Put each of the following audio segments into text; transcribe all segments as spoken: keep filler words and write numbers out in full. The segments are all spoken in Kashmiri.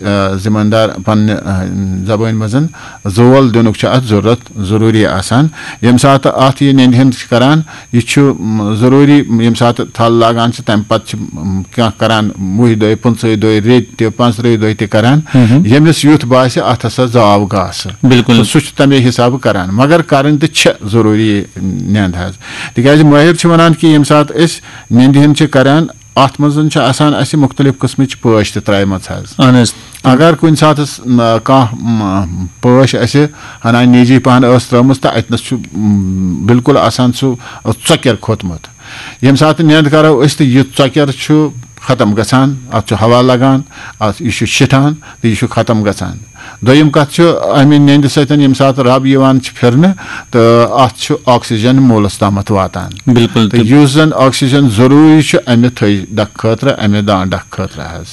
آ، ذمہ دار پننہِ، آ، زبٲنۍ منٛز زول دِنُک چھُ اتھ ضروٗرت، ضروٗری آسان۔ ییٚمہِ ساتہٕ اتھ یہِ نِندِ ہُنٛد چھِ کران، یہِ چھُ، م، ضروٗری ییٚمہِ ساتہٕ تھل لاگان چھِ، تمہِ پتہٕ چھِ، م، کانٛہہ کران وُہہِ دۄہہِ، پٕنٛژٕہہِ دۄہہِ، ریٚتۍ تہِ، پانٛژترٕٛہہِ دۄہہِ تہِ کران۔ ییٚمِس یُتھ باسہِ اتھ ہسا زاو گاسہٕ، بِلکُل۔ تہٕ سُہ چھُ تمے حسابہٕ کران، مگر کرٕنۍ تہِ چھِ ضروٗری نِند حظ۔ تِکیازِ مٲہِر چھِ ونان کہِ ییٚمہِ ساتہٕ أسۍ نِندِ ہُنٛد چھِ کران، اتھ منٛز چھِ آسان اسہِ مختلف قٕسمٕچ پٲش تہِ ترٛایمٕژ حظ۔ اہن حظ۔ اگر کُنہِ ساتہٕ س-، م-، کانٛہہ، م-، پٲش اسہِ ہنا نیجی پہن ٲس ترٲومٕژ، تہٕ اتہِ نس چھُ، م، بالکل آسان سُہ ژۄکیر کھوٚتمُت۔ ییٚمہِ ساتہٕ نیند کرو أسۍ، تہٕ یہِ ژۄکیر چھُ ختم گژھان، اتھ چھُ ہوا لگان، اتھ، یہِ چھُ شِٹھان تہٕ یہِ چھُ ختم گژھان۔ دوٚیِم کتھ چھُ، امہِ نیندِ سۭتۍ ییٚمہِ ساتہٕ رب یِوان چھِ پھِرنہٕ، تہٕ اتھ چھُ آکسیجن موٗلس تامتھ واتان۔ بِلکُل۔ تہٕ یُس زن آکسیجن ضروٗری چھُ امہِ تھٔج ڈکھ خٲطرٕ، امہِ دان ڈکھ خٲطرٕ حظ۔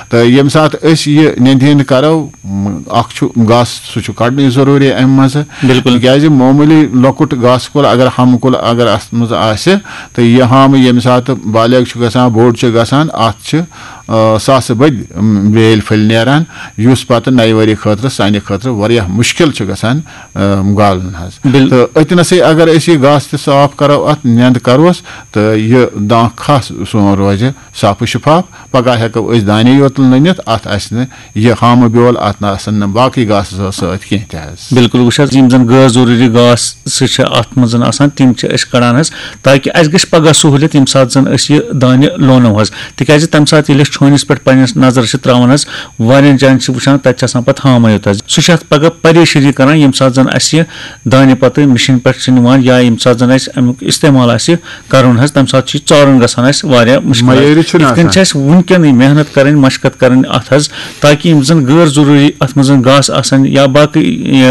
تہٕ ییٚمہِ ساتہٕ أسۍ یہِ نیندِ ہُنٛد کرو، م، اکھ چھُ گاسہٕ، سُہ چھُ کڑنُے ضروٗری امہِ منٛزٕ۔ بِلکُل۔ تِکیازِ معموٗلی لۄکُٹ گاسہٕ کُل اگر ہامہٕ کُل اگر اتھ منٛز آسہِ، تہٕ یہِ ہامہٕ ییٚمہِ ساتہٕ بالغ چھُ گژھان، بوٚڑ چھُ گژھان، اتھ چھِ، آ، ساسہٕ بٔدۍ، م، بیٲلۍ پھٔلۍ نیران، یُس پتہٕ نَیہِ ؤری خٲطرٕ سانہِ خٲطرٕ واریاہ مُشکل چھُ گژھان، آ، گالُن حظ۔ بِل- تہٕ أتنَسٕے اگر أسۍ یہِ گاسہٕ تہِ صاف کرو، اتھ نیند کروس، تہٕ یہِ دانٛکھ کھس سون روزِ صاف و شفاف۔ پگاہ ہٮ۪کو أسۍ دانے یوت لوٗنِتھ، اتھ آسہِ نہٕ یہِ ہامہٕ بیول، اتھ نہ آسن نہٕ باقٕے گاسہٕ زٲژ سۭتۍ کینٛہہ تہِ حظ۔ بِلکُل، وٕچھ حظ، یِم زَن غٲر ضروٗری گاسہٕ چھِ اَتھ منٛز آسان، تِم چھِ أسۍ کَڑان حظ، تاکہِ اَسہِ گژھِ پَگاہ سہوٗلیت، ییٚمہِ ساتہٕ زَن أسۍ یہِ دانہِ لونو حظ۔ تِکیٛازِ تَمہِ ساتہٕ ییٚلہِ أسۍ چھٲنِس پٮ۪ٹھ پنٛنِس نظر چھِ ترٛاوان حظ، واریاہَن جایَن چھِ وٕچھان، تَتہِ چھِ آسان پَتہٕ ہامَے یوت حظ۔ سُہ چھُ اَتھ پَگاہ پریشٲنی کَران، ییٚمہِ ساتہٕ زَن اَسہِ یہِ دانہِ پَتہٕ مِشیٖن پٮ۪ٹھ چھِ نِوان، یا ییٚمہِ ساتہٕ زَن اَسہِ اَمیُک استعمال آسہِ کَرُن حظ، تَمہِ ساتہٕ چھُ یہِ ژارُن گژھان اَسہِ واریاہ مُشکل حظ۔ معیٲری چھُنہٕ یِتھ کٔنۍ آسان۔ چھِ اَسہِ وٕنکٮ۪نٕے محنت کَرٕنۍ، مَشقت کَرٕنۍ اَتھ حظ، تاکہِ یِم زَن غٲر ضروٗری اَتھ منٛز زَن گاسہٕ آسَن یا باقٕے، یہِ،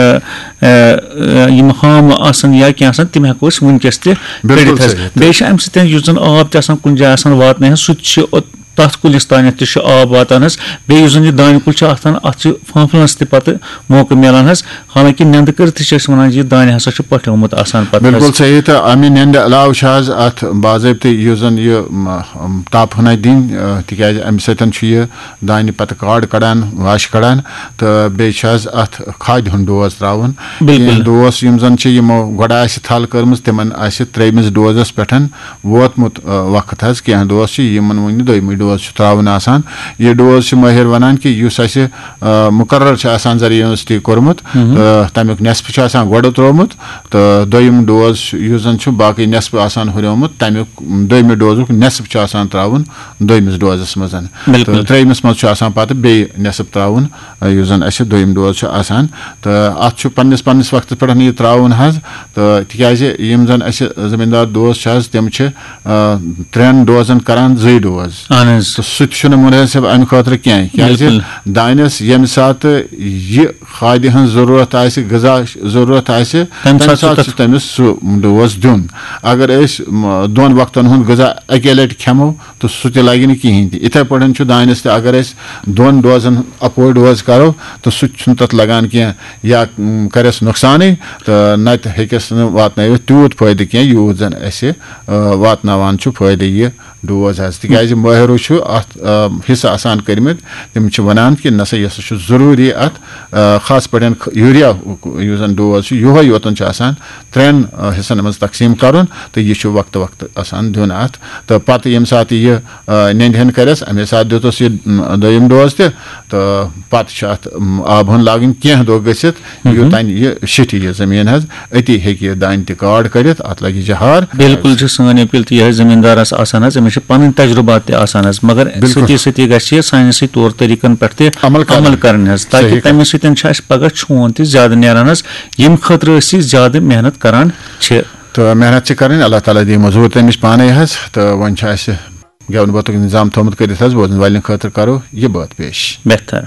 ٲ، ٲ، یِم ہامہٕ آسَن یا کینٛہہ آسَن، تِم ہٮ۪کو أسۍ وٕنکٮ۪س تہِ بِلکُل کٔڑِتھ حظ۔ صحیح۔ بیٚیہِ چھِ اَمہِ سۭتۍ یُس زَن آب تہِ آسان کُنہِ جایہِ آسان واتنَے حظ، سُہ تہِ چھُ اوٚت-، تَتھ کُلِس تانٮ۪تھ تہِ چھُ آب واتان حظ۔ بیٚیہِ یُس زَن یہِ دانہِ کُل چھُ آسان، اَتھ چھُ فانفلَنَس تہِ پَتہٕ موقعہٕ میلان حظ۔ حالانکہِ نٮ۪نٛدٕ کٔرِتھٕے چھِ أسۍ وَنان زِ یہِ دانہِ ہسا چھُ پۄٹھیومُت آسان پَتہٕ حظ۔ بِلکُل صحیح۔ تہٕ اَمہِ نٮ۪نٛدِ علاوٕ چھِ حظ اَتھ باضٲبطہٕ یُس زَن یہِ، م، م، تاپہٕ ہٕنا دِنۍ، آ، تِکیٛازِ اَمہِ سۭتۍ چھُ یہِ دانہِ پَتہٕ کاڈ کَڑان، واش کَڑان، تہٕ بیٚیہِ چھِ حظ اَتھ کھادِ ہُنٛد ڈوز ترٛاوُن۔ بِلکُل۔ کینٛہہ ڈوز یِم زَن چھِ یِمو گۄڈٕ آسہِ تھل کٔرمٕژ، تِمَن آسہِ ترٛیٚیِمِس ڈوزَس پٮ۪ٹھ ووتمُت، آ، وقت حظ۔ کینٛہہ ڈوز چھِ یِمَن وُنہِ دوٚیمُے ڈوز چھُ ترٛاوُن آسان۔ یہِ ڈوز چھِ مٲہِر وَنان کہِ یُس اَسہِ، آ، مُقرر چھُ آسان زرعی یونیورسٹی کوٚرمُت، تہٕ تَمیُک نٮ۪صف چھُ آسان گۄڈٕ ترٛوومُت، تہٕ دوٚیِم ڈوز چھُ، یُس زَن چھُ باقٕے نٮ۪صف آسان ہُریومُت، تَمیُک دوٚیمہِ ڈوزُک نٮ۪صف چھُ آسان ترٛاوُن دوٚیمِس ڈوزَس منٛز۔ بِلکُل۔ تہٕ ترٛیٚیمِس منٛز چھُ آسان پَتہٕ بیٚیہِ نٮ۪صف ترٛاوُن، آ، یُس زَن اَسہِ دوٚیِم ڈوز چھُ آسان۔ تہٕ اَتھ چھُ پنٛنِس، پنٛنِس وقتَس پٮ۪ٹھ یہِ ترٛاوُن حظ۔ تہٕ تِکیٛازِ یِم زَن اَسہِ زٔمیٖندار دوس چھِ حظ، تِم چھِ، آ، ترٛٮ۪ن ڈوزَن کَران زٕے ڈوز۔ اہن حظ۔ تہٕ سُہ تہِ چھُنہٕ مُنٲسِب اَمہِ خٲطرٕ کینٛہہ، کیٛازِ بِلکُل۔ دانٮ۪س ییٚمہِ ساتہٕ یہِ کھادِ ہٕنٛز ضروٗرت آسہِ، غذا ضروٗرت آسہِ، تَمہِ تَمہِ ساتہٕ چھُ ساتہٕ تَتھ چھُ تٔمِس سُہ ڈوز دیُن۔ اگر أسۍ، م، دۄن وقتَن ہُنٛد غذا اَکے لَٹہِ کھٮ۪مو، تہٕ سُہ تہِ لَگہِ نہٕ کِہیٖنۍ تہِ۔ یِتھَے پٲٹھۍ چھُ دانٮ۪س تہِ، اگر أسۍ دۄن ڈوزَن اَکوے ڈوز کَرو، تہٕ سُہ تہِ چھُنہٕ تَتھ لَگان کینٛہہ، یا، م، کَرٮ۪س نۄقصانٕے، تہٕ نَتہٕ ہیٚکٮ۪س نہٕ واتنٲوِتھ تیوٗت فٲیدٕ کینٛہہ، یوٗت زَن اَسہِ، آ، واتناوان چھُ فٲیدٕ یہِ ڈوز حظ۔ تِکیٛازِ مٲہرو چھُ اَتھ، آ، حصہٕ آسان کٔرمٕتۍ، تِم چھِ وَنان کہِ نہ سا، یہِ ہسا چھُ ضروٗری اَتھ، آ، خاص پٲٹھۍ خ-، یوٗریا یُس زَن ڈوز چھُ، یِہوٚے یوتَن چھُ آسان ترٛٮ۪ن، آ، حصن منٛز تقسیٖم کَرُن، تہٕ یہِ چھُ وقتہٕ وقتہٕ آسان دیُن اَتھ۔ تہٕ پَتہٕ ییٚمہِ ساتہٕ یہِ، آ، نٮ۪نٛدِ ہن کَرٮ۪س، اَمے ساتہٕ دیُتُس یہِ، م، دوٚیِم ڈوز تہِ، تہٕ پَتہٕ چھُ اَتھ، م، آب ہن لاگٕنۍ کینٛہہ دۄہ گٔژھِتھ، یوٚتام یہِ شِٹھِ یہِ زٔمیٖن حظ، أتی ہیٚکہِ یہِ دانہِ تہِ کاڈ کٔڑِتھ، اَتھ لَگہِ جہار۔ بِلکُل چھِ سٲنۍ اپیٖل تہِ یِہوٚے زٔمیٖندارَس آسان حظ، أمِس چھِ پَنٕنۍ تجرُبات تہِ آسان حظ، مگر بِلکُل۔ سۭتی سۭتی گژھِ یہِ ساینسی طور طریٖقَن پٮ۪ٹھ تہِ عمل کَرُن۔ عمل کَرٕنۍ حظ، تاکہِ صحیح کَتھ۔ تَمہِ سۭتۍ چھُ اَسہِ پَگاہ چھون تہِ زیادٕ نیران حظ، ییٚمہِ خٲطرٕ أسۍ یہِ زیادٕ محنت کَران چھِ۔ تہٕ محنت چھِ کَرٕنۍ، اللہ تعالیٰ دِیہِ مٔزوٗر تٔمِس پانَے حظ۔ تہٕ وۄنۍ چھُ اَسہِ گٮ۪ونہٕ بٲتُک اِنتظام تھوٚومُت کٔرِتھ حظ، بوزَن والٮ۪ن خٲطرٕ کَرو یہِ بٲتھ پیش۔ بہتر۔